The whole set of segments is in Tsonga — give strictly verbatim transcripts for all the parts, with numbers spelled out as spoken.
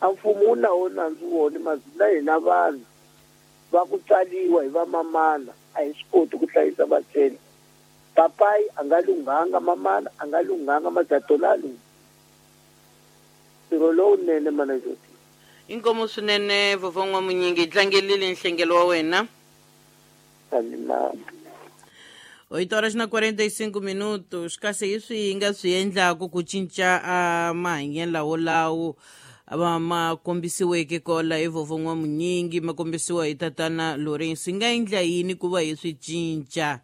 A mfumo wu na wo nandzu wona mazila hina vanhu va ku tswaliwa hi vamamana a hi swi koti ku hlayisa vatswari. Papai a nga lunghanga, mamana a nga lunghanga, majatona a lungha. Ntirho lowunene mana Jodi. Inkomo swinene vovó N'wamunyingi, tlangelile nhlengelo wa wena. Alimama. oito horas na quarenta e cinco minutos. Kasi hi swi hi nga swi endlaku ku cinca a mahanyelo lawolawo ma ma kombisiweke kola hi vovó N'wamunyingi, ma kombisiwa hi tatana Lawrence, hi nga endla yini ku va hi swi cinca?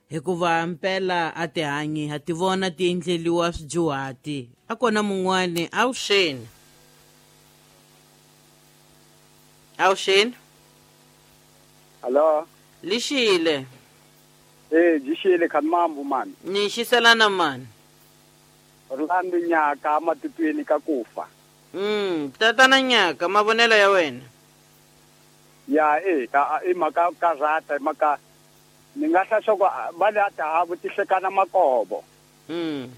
Hikuva mpela a tihanyi ha ti vona ti endleliwa swidyuhati. A kona mun'wani awuxeni. Awuxeni. Hello. Lixile. Eh, jixile kha mambu mani. Ni xiselana mani. Orlando Nyaka matitweni ka kufa. Mm, tatana Nyaka, mavonelo ya wena. Ya eh ka i maka ka rata maka ni nga hla swa va le ta ha vutihlekana makobo. Mm.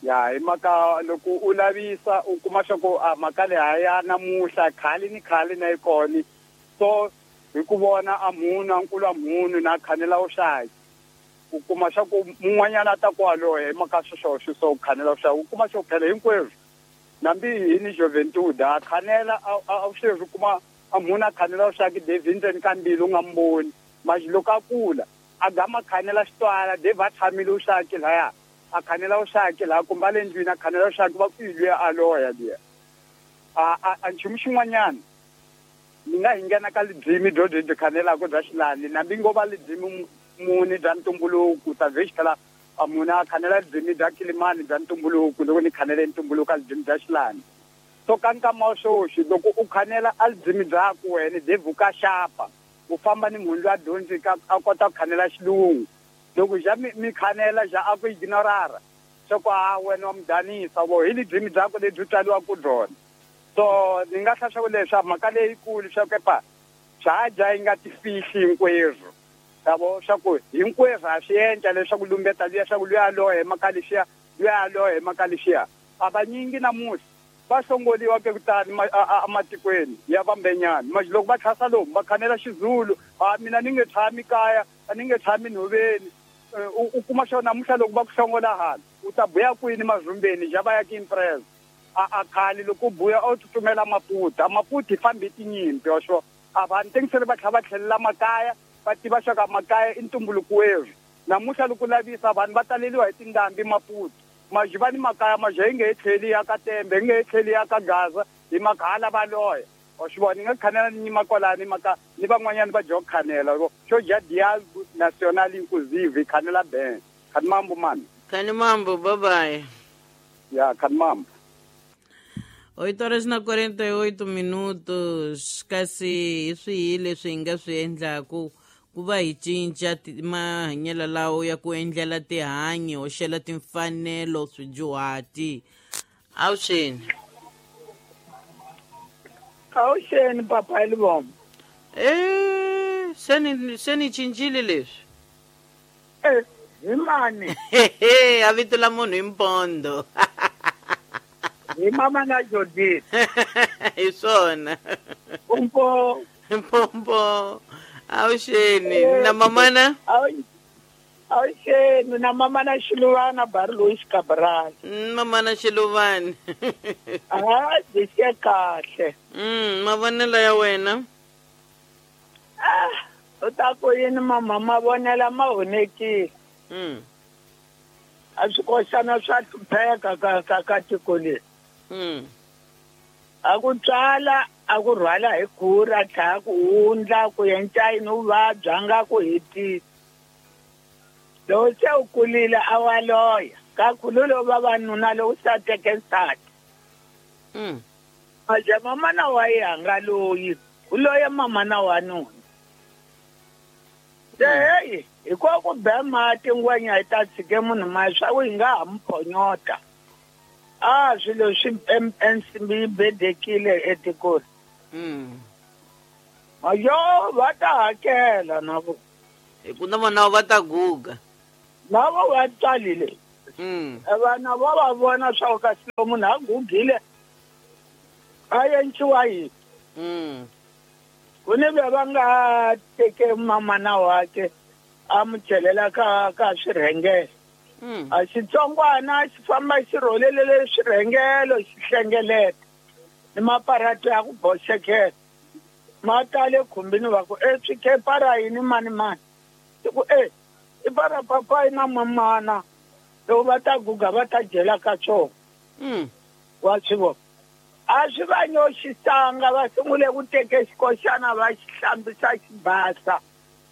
Ya i maka loko u lavisa u kuma swa ku a maka le haya namuhla khale ni khale na ikoni. So hi ku vona a munhu a nkulu a munhu na khanela u xaki. U kuma swa ku mun'wanyana ta kwaloye hi maka sweswo so khanela u xaki. U kuma swa phela hinkwerhu. Nambi hi ni Juventud a khanela a sweswi kuma a munhu a khanela u xaki David ndzeni ka mbilu u nga mboni. Mas loko a kula a gama khanela xitwala Dave a tshamile u xaki laya a khanela u xaki laha kumbe a le ndlwini a khanela u xaki va ku i luya a loya luya. A a nchumu xin'wanyana ni nga hi nghena ka lidzimi byo byi khanelaka bya xilani nambi ngo va lidzimi muni bya ntumbuluko ta vhe xitlhela a munhu a khanela lidzimi bya Kilimani bya ntumbuluko loko ni khanele ntumbuluko a lidzimi bya xilani. So ka nkama wa sweswi loko u khanela a lidzimi byaku wena Dave ka xapa u famba ni munhu loyi a dyondzika a kota ku khanela xilungu. Loko ja mi, mi khanela ja a ku ignorara swa ku a wena wa mudanisa vo hi lidzimi byakwe lebyi tswariwaka byona. So ni nga hla swa ku leswi mhaka leyikulu swa ku epa swa yi nga tifihli hinkwerhu. Yabo swa ku hinkwerhu ha swi endla leswaku lumbeta luya swa ku luya loye mhaka lexiya luya loye mhaka lexiya. A vanyingi namuntlha va hlongoliwa ke kutani ematikweni ya vambenyana. Manje loko va tlhasa lomu va khanela Xizulu, a mina ni nge tshami kaya, a ni nge tshami nhoveni. U kuma xona namuntlha loko va ku hlongola hala u ta buya kwini mazumbeni ja va ya ki impress. A a khale loko u buya u tsutsumela Maputo, a Maputo hi fambi tinyimpi wa swo. A vanhu tengisele va tlhela va tlhelela makaya, va tiva swa ka makaya i ntumbuluko werhu. Namuntlha loko lavisa vanhu va taleliwa hi tindhambi Maputo. Maji va ni makaya maji yi nge he tlheli ya ka Tembe, yi nge he tlheli ya ka Gaza, hi makhala va loya. Wa swi vona, ni nga khanela ni nyima kwalani maka ni van'wanyana va dya ku khanela. Xo dya Dialogue National Inclusive khanela ben. Khani mambo mani. Khani mambo, bye bye. Ya khani mambo. oito horas na quarenta e oito minutos. Kasi hi swihi leswi hi nga swi endlaku ku va hi cinca mahanyelo lawo ya ku endlela tihanyi hoxela timfanelo swidyuhati? Awuxeni. Awuxeni papa Elibom. Eh, se ni se ni cincile leswi. Eh, hi mani? A vito la munhu hi Mpondo. Hi mama na Jodie. Hi swona. Mpompo. Mpompo. Awuxeni na mamana? Awuxeni na mamana Xiluvana Barlois Cabral. Mamana Xiluvana. Ah, byi kahle. Mm, mavonelo ya wena? Ah, u ta ku yini mama mavonelo ma honekile. Mm. A swi koxana swa hlupheka ka ka ka tiko leri. Mm. A ku tswala a ku rhwala hi khura tlhela ku wundla ku endla yini u vabya nga ku hetisa. Loko se u kulile a wa loya kakhulu loko vavanuna loko se a teke nsati. Mm. Maje mamana wa yanga loyi u loye mamana wa nuna. Se heyi hi ko ku be mati ngwenya yi ta tshike munhu ma swa ku yi nga ha mu phonyota. A swilo swi ensimbi yi bedekile etikweni. Mm. Mayo va ta hakela na vo. Hi ku na vona va ta guga. Na vo va tswalile. Mm. Vana va va vona swa ku kasi loko munhu a gugile A yenciwa yini? Mm. Ku ni ve va nga teke mamana wakhe a mu chelela ka ka swirhengelo. Mm. A xitsongwana xi famba xi rholelele swirhengelo xi hlengeleta ni maparato ya ku boxekela ma tale khumbini va ku e swikepara yini mani mani i ku e i para papayi na mamana loko va ta guga va ta dyela ka swona. Mm. Wa swi vona a swi va nyoxisanga va sungule ku teke xikoxana va xi hlambisa xi basa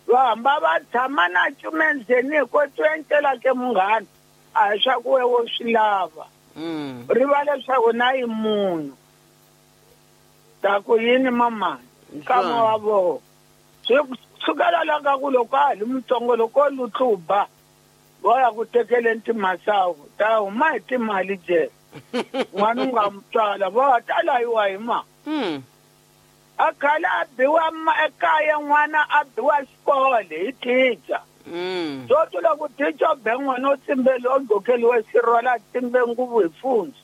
va hamba va tshama na cumendzeni hi ko twentela ke munghana a hi swa ku we wo swi lava. Mm. Riva leswaku na yi munhu ta ku yini mamana nkama wa vona swi sukela la ka ku loko a ha li mutsongo loko lutluba va ya ku tekeleni timasawu ta huma hi timali jele n'wana u nga mu tswala va ta layiwa hi ma. Mm. A khale a biwa ekaya n'wana a biwa xikolo hi thicha. Mm. Swo loko thicha u be n'wana u tsimbele u gqokeliwe xirhwala a tsimbe nguvu hi fundzu.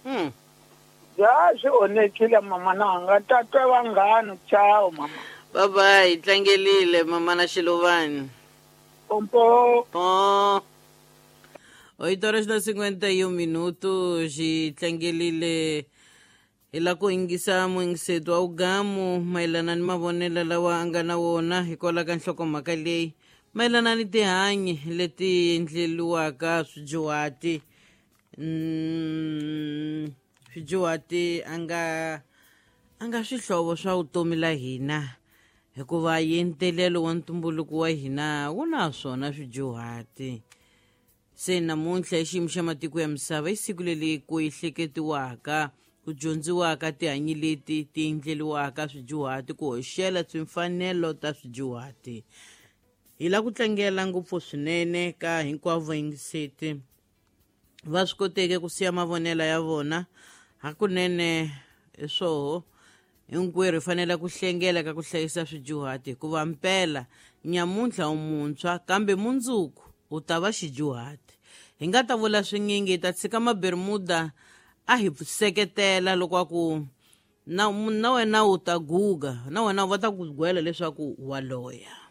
Mm. Ya swi onhekile mama nanga tatwe vanghana ciao mama. Bye bye, tlangelile mama na Xilovani. Pompo. Po. Oito horas na cinquenta e um minutos e tlangelile hi la ku yingisa muyingiseti wa ugamu mayelana ni mavonelo lawa a nga na wona hikwalaho ka nhlokomhaka leyi mayelana ni tihanyi leti endleliwaka swidyuhati. Mm, swidyuhati a nga a nga swihlovo swa vutomi la hina hikuva yentelelo wa ntumbuluko wa hina wu na swona swidyuhati. Se namuntlha hi xiyimo xa matiko ya misava i siku leri ku ehleketiwaka ku dyondziwaka tihanyi leti ti endleliwaka swidyuhati ku hoxela timfanelo ta swidyuhati. Hi la ku tlangela ngopfu swinene ka hinkwavo vayingiseti va swi koteke ku siya mavonelo ya vona hakunene hi swoho hinkwerhu hi fanele ku hlengela ka ku hlayisa swidyuhati hikuva mpela nyamuntlha u muntshwa kambe mundzuku u ta va xidyuhati. Hi nga ta vula swinyingi hi ta tshika mabermuda a hi seketela loko a ku na na wena u ta guga na wena va ta ku gwela leswaku wa loya.